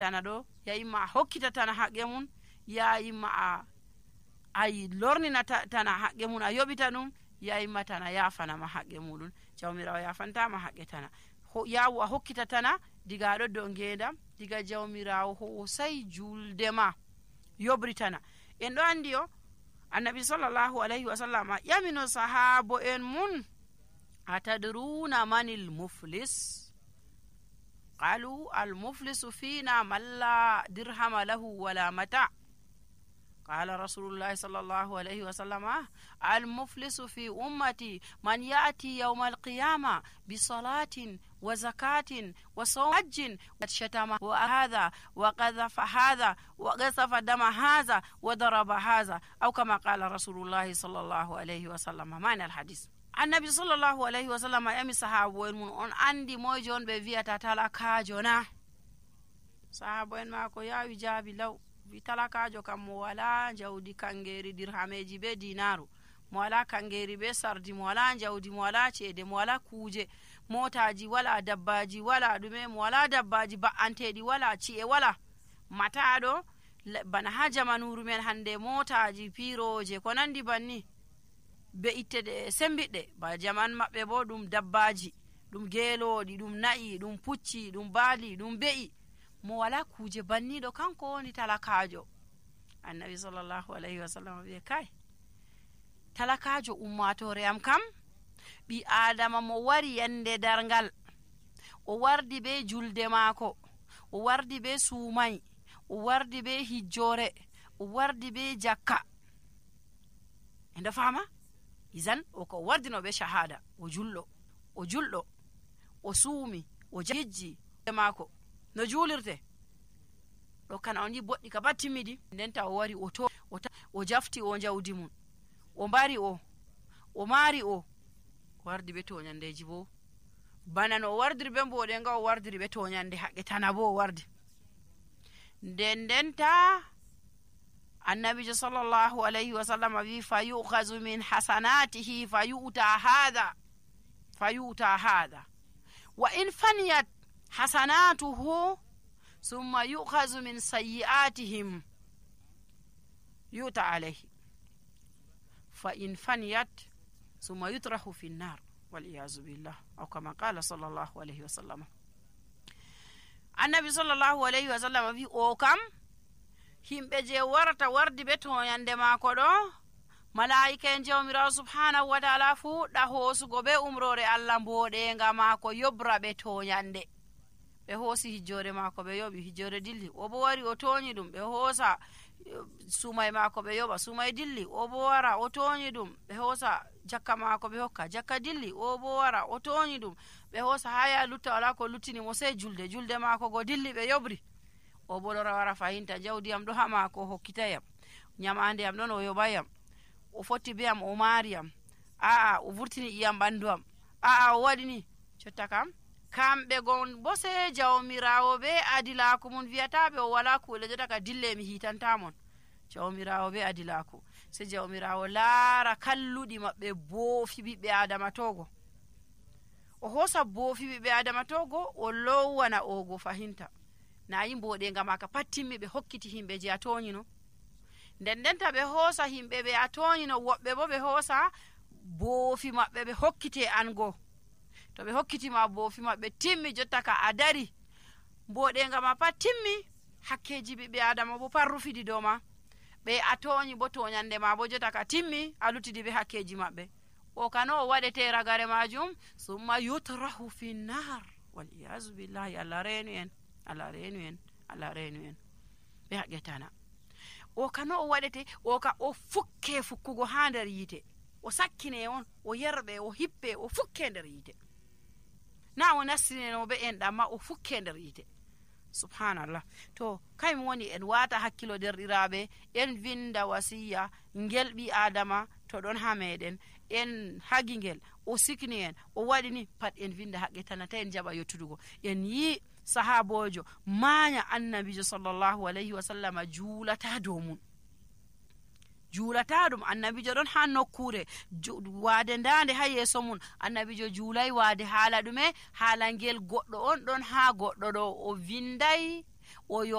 tana ɗo yayimma a hokkita tana haqqe mum, yayimma a lornina tana haqqe mum, a yoɓita ɗum, yayimma tana yafanama haqqe muɗum. Jawmirawo yafantama haqqe tana. Yawu a hokkita tana diga aɗo dow ngendam, diga jawmirawo hosai julde ma yoɓritana. En ɗo andi o annabi sallallahu alayhi wa sallam ƴamino sahabo en mun, atadruna manil muflis? qalu al muflisu fina man la dirhama lahu wala mata. qala rasulullahi sallallahu alayhi wa sallam al muflisu fi ummati man ya'ti yawma alqiyama bi salatin wa zakatin wa hajjin wa shatama wa hadha wa qadhafa hadha wa qasafa dama hadha wa daraba hadha, aw kama qala rasulullahi sallallahu alayhi wa sallam. mana al hadith. annabi sallallahu alayhi wa sallam yami sahabo en mun, on andi moyjo on ɓe wiyata talakajo na? sahabo en mako yawi jaabi law, wi talakajo kam mo wala jawdi kangeri dirhameji be dinaru, mo wala kangeri be sardi, mo wala jawdi, mo wala ceede, mo wala kuje, motaji wala, dabbaji wala, ɗume mo wala, dabbaji ba'anteɗi wala, ci'e wala. mataɗo bana ha jamanuru men hande motaji piroje ko nandi banni be ittede sembiɗɗe, ba jaman maɓɓe bo ɗum dabbaji, ɗum geloɗi, ɗum na'i, ɗum pucci, ɗum baali, ɗum be'i. mo wala kuje banniɗo kanko woni talakajo. annabi sallallahu alayhi wa sallam wiye kai talakajo ummatore am kam ɓi adama mo wari yande dargal, o wardi be julde maako, o wardi be suumai, o wardi be hijjore, o wardi be jakka. enda fama izan o ko wardino be shahada, o julɗo, o suumi, o hijji maako no julirte ɗo kana on yi boɗɗi ka battimiɗi. ndenta o wari o jafti o jawdi mum, o mbari o maari o wardi be toñandeji bo bana no o wardiri be mboɗe nga o wardiri be toñande haqqe tana bo o wardi. ndenta annabijo sallallahu alayhi wa sallam wi fa yu'khazu min hasanatihi fa yu'ta hadha wa in faniyat hasanatuhu summa yu'khazu min sayyi'atihim yu'ta alayhi fa in faniyat summa yutrahu fi nnar wal iyazu billah, aw kama qala sallallahu alayhi wa sallam. annabi sallallahu alayhi wa sallam wi o kam himɓe je warata wardi be toñande maako ɗo, malaika en jawmirawo subhanahu wa ta'ala fuɗɗa hoosugo be umrore allah mboɗenga maako yobra ɓe toñande. ɓe hoosi hijjore maako ɓe yoɓi, hijjore dilli, o bo wari o toñi ɗum, ɓe hoosa sumai maako ɓe yoɓa, sumai dilli, o bo wara o toñi ɗum, ɓe hoosa jakka maako ɓe hokka, jakka dilli, o bo wara o toñi ɗum, ɓe hoosa haya lutta wala ko luttini mo sey julde maako go dilli ɓe yoɓri. o bo lora wara fahinta jawdiyam ɗo ha maako o hokkitayam, nyamandeyam ɗon o yoɓayam, o fotti beyam o maariyam, aa o vurtini iyam ɓandu am, aa o waɗini. jotta kam kamɓe gon bo se jawmirawo be adilaku mum wiyataɓe o wala kuule, jotta ka dille mi hitantamon. jawmirawo be adilaku se jawmirawo laara kalluɗi maɓɓe boofi ɓiɓɓe adama togo, o hosa boofi ɓiɓɓe adama togo o lowana ogo fahinta, nayi mboɗenga maka pat timmi ɓe hokkiti himɓe je a toñino. ndendenta ɓe hoosa himɓe ɓe a toñino, woɓɓe bo ɓe hoosa boofi maɓɓe ɓe hokkite an go. to ɓe hokkitima boofi maɓɓe timmi, jotta ka a dari mboɗenga ma pat timmi, hakkeji ɓiɓɓe adama bo pat rufidi dow ma, ɓe a toñi bo toñande ma bo jotta ka timmi, a luttidi be hakkeji maɓɓe. o kano o waɗete ragare majum, summa yutrahu fi nnar wal iyazu billahi. allah reenu en ɓe haqqetana. o kano o waɗete o ka o fukke fukkugo ha nder yite, o sakkine on, o yerɓe, o hippe, o fukke nder yite, na o nastineno be en ɗamma o fukke nder yite. subhanallah. to kaymi woni en wata hakkilo derɗiraɓe, en vinda wasiya ngel ɓi adama to ɗon ha meɗen, en hagi ngel, o sikni en, o waɗini pat en vinda haqqe tanata en jaɓa yottudugo. en yi sahabojo maanya annabijo sallallahu alayhi wa sallam juulata dow mum, juulata ɗum. annabijo ɗon ha nokkure waade ndande ha yeeso mum, annabijo juulay waade haala ɗume, haala ngel goɗɗo on ɗon ha goɗɗo ɗo, o vinday o